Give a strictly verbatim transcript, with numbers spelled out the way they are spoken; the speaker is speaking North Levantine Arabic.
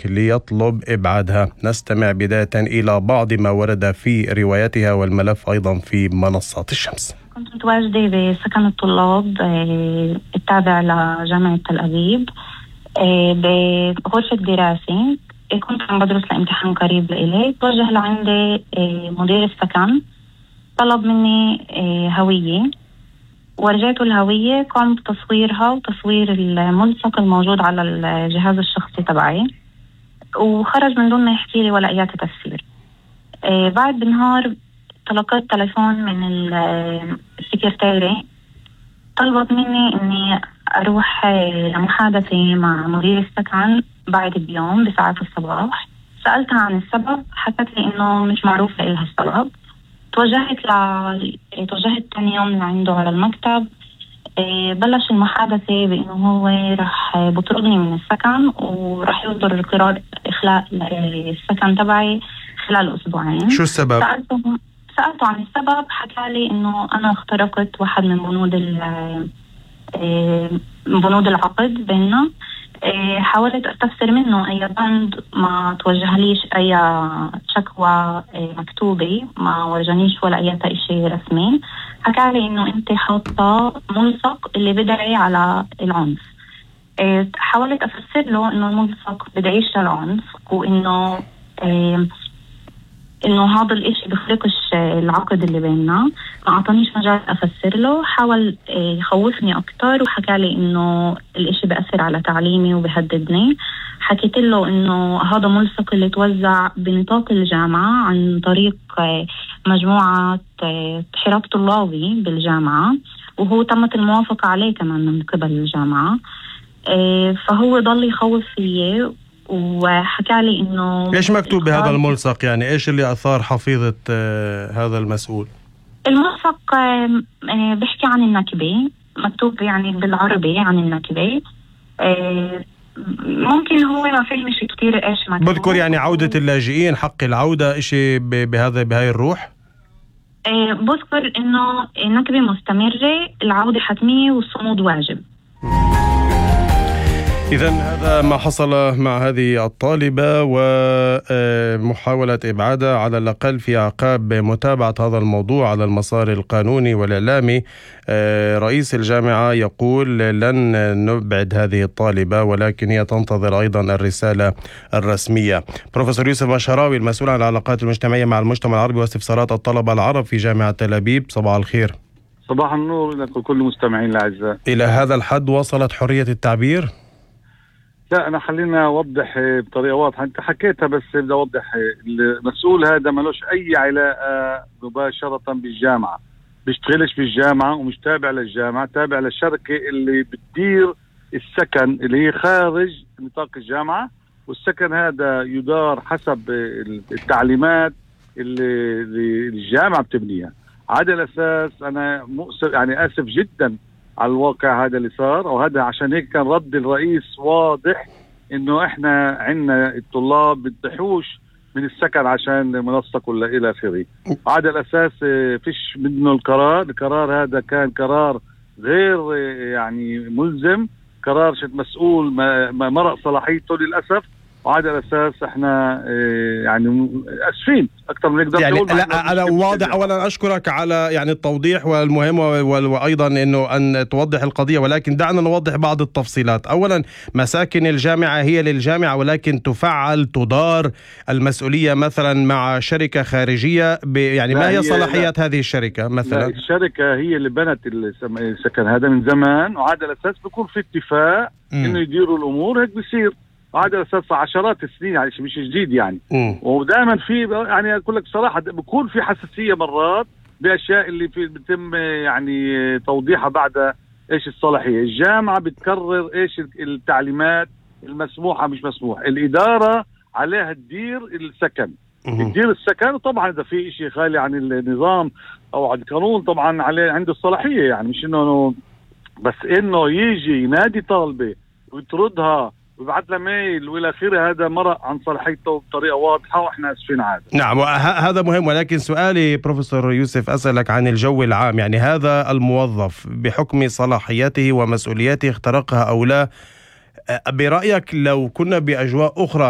ليطلب إبعادها. نستمع بداية إلى بعض ما ورد في روايتها والملف أيضا في منصات الشمس. كنت متواجدة بسكن الطلاب التابع لجامعة تل أبيب بغرفة دراسة. كنت عم بدرس لامتحان قريب لإلي. توجه لعندي مدير السكن، طلب مني هوية ورجعته الهوية، قام بتصويرها وتصوير الملصق الموجود على الجهاز الشخصي تبعي، وخرج من دون ما يحكي لي ولا أي تفسير. آه بعد بنهار تلقيت تليفون من السكرتيري، طلبت مني إني أروح لمحادثة مع مدير السكن بعد بيوم بساعات الصباح. سألتها عن السبب، حكت لي إنه مش معروف لها السبب. توجهت ل توجهت ثاني يوم لعنده على المكتب. إيه بلش المحادثة بأنه هو رح بطردني من السكن ورح يصدر قرار إخلاء السكن تبعي خلال أسبوعين. شو السبب؟ سألته سألته عن السبب، حكى لي إنه أنا اخترقت واحد من بنود بنود العقد بيننا. حاولت أستفسر منه أي بند، ما توجهليش أي شكوى مكتوبة، ما ورجانيش ولا أي شيء رسمي. حكى لي إنه أنت حاطة ملصق اللي بدعي على العنف. حاولت أفسر له إنه الملصق بدعيش للعنف، وإنه إنه هذا الإشي بخرقش العقد اللي بيننا. ما أعطانيش مجال أفسر له، حاول يخوفني أكتر وحكى لي إنه الإشي بأثر على تعليمي وبهددني. حكيت له إنه هذا ملصق اللي توزع بنطاق الجامعة عن طريق مجموعة حراك طلابي بالجامعة، وهو تمت الموافقة عليه كمان من قبل الجامعة. فهو ضل يخوف فيي وحكى لي إنه إيش مكتوب بهذا الملصق؟ يعني إيش اللي أثار حفيظة آه هذا المسؤول؟ الملصق آه بيحكي عن النكبة، مكتوب يعني بالعربي عن النكبة. آه ممكن هو ما فهمش كتير إيش مكتوب. بذكر يعني عودة اللاجئين، حق العودة، إشي بهذا بهاي الروح؟ آه بذكر إنه النكبة مستمرة، العودة حتمية والصمود واجب. إذن هذا ما حصل مع هذه الطالبة ومحاولة إبعادها على الأقل في أعقاب متابعة هذا الموضوع على المسار القانوني والإعلامي. رئيس الجامعة يقول لن نبعد هذه الطالبة، ولكن هي تنتظر أيضا الرسالة الرسمية. بروفيسور يوسف بشراوي، المسؤول عن العلاقات المجتمعية مع المجتمع العربي واستفسارات الطلبة العرب في جامعة تل أبيب، صباح الخير. صباح النور لكم كل المستمعين الأعزاء. إلى هذا الحد وصلت حرية التعبير؟ لا، أنا خلينا أوضح بطريقة واضحة. أنت حكيتها بس بدي أوضح. المسؤول هذا ملوش أي علاقة مباشرة بالجامعة، بيشتغلش بالجامعة ومش تابع للجامعة، تابع للشركة اللي بتدير السكن اللي هي خارج نطاق الجامعة، والسكن هذا يدار حسب التعليمات اللي الجامعة بتبنيها. على الأساس أنا مؤسف يعني آسف جدا على الواقع هذا اللي صار، وهذا عشان هيك كان رد الرئيس واضح انه احنا عندنا الطلاب بتحوش من السكن عشان منسق ولا الى اخره. على الاساس فيش منه القرار، القرار هذا كان قرار غير يعني ملزم، قرار شد مسؤول ما مرق صلاحيته للاسف. وعلى الأساس احنا يعني اسفين اكثر من نقدر يعني. لا انا واضح، اولا اشكرك على يعني التوضيح والمهم، وايضا انه ان توضح القضيه، ولكن دعنا نوضح بعض التفصيلات. اولا مساكن الجامعه هي للجامعه، ولكن تفعل تدار المسؤوليه مثلا مع شركه خارجيه، يعني ما هي صلاحيات هذه الشركه مثلا؟ الشركه هي اللي بنت السكن هذا من زمان، وعلى الاساس بيكون في اتفاق انه يديروا الامور، هيك بصير. وهذا اساس عشرات السنين، يعني مش جديد يعني. ودائما في يعني اقول لك بصراحه بكون في حساسيه مرات باشياء اللي في بتم يعني توضيحها بعد ايش الصلاحيه. الجامعه بتقرر ايش التعليمات المسموحه مش مسموح، الاداره عليها تدير السكن، تدير السكن. وطبعا اذا في شيء خالي عن النظام او عن القانون طبعا عليه عنده الصلاحيه، يعني مش انه بس انه يجي ينادي طالبه ويطردها وبعد لها ميل والى اخره، هذا مرق عن صلاحيته بطريقه واضحه، واحنا اسفين عادة. نعم، هذا مهم. ولكن سؤالي بروفيسور يوسف اسالك عن الجو العام، يعني هذا الموظف بحكم صلاحيته ومسؤولياته اخترقها او لا، برأيك لو كنا بأجواء أخرى